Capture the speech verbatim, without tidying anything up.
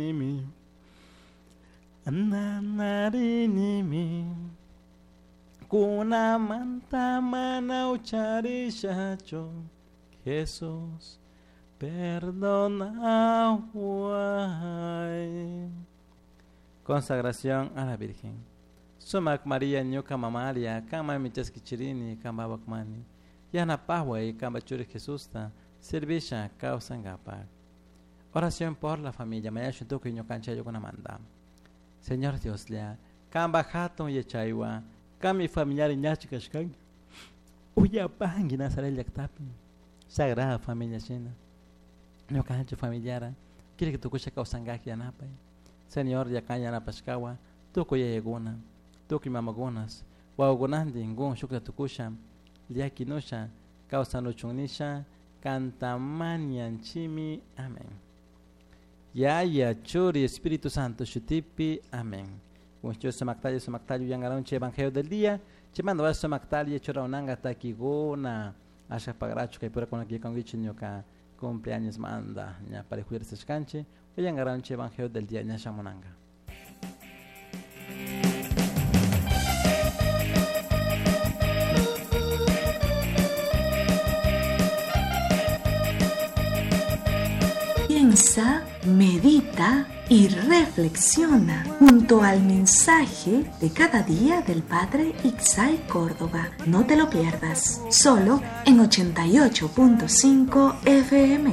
Nimi Nanarinimi Kunamanta mana ucharishachu Jesús perdonaway. Consagración a la Virgen. Sumac María ñuka mamaria kama michaskichirini kambawakmani yanapaway kamba churi Jesusta servisha kawsankapak. Oración por la familia. Mañashu tukuy ñukanchayukunamanta. Señor Dioslla, kamba hatun yachaywa, kami familiar ñachi kashkanki. Uyapanki Nazaret llaqtapi. Sagrada familia shina. Ñukanchik familiara, quiere que tukusha kawsankaq yanapay. Señor, yakan yanapashkawa, tukuy yayakuna, tukuy mamakunas, wawakunantin kun shukta tukusha, llakinusha, kawsanuchunnisha, kantamanianchimi. Amén. Yaya, Churi, Espíritu Santo, Shutipi, amén. Kuncho sumaktayo, sumaktayo, yangaronche, Evangelio del día. Chimando va sumaktayo, churaunanga, takiguna, asha pagracho, que pura con aquí con ñuka cumpleaños manda, ña para juirse canche, yangaronche, Evangelio del día, ña shamunanga. Piensa, medita y reflexiona junto al mensaje de cada día del Padre Ixay Córdoba. No te lo pierdas, solo en ochenta y ocho punto cinco F M.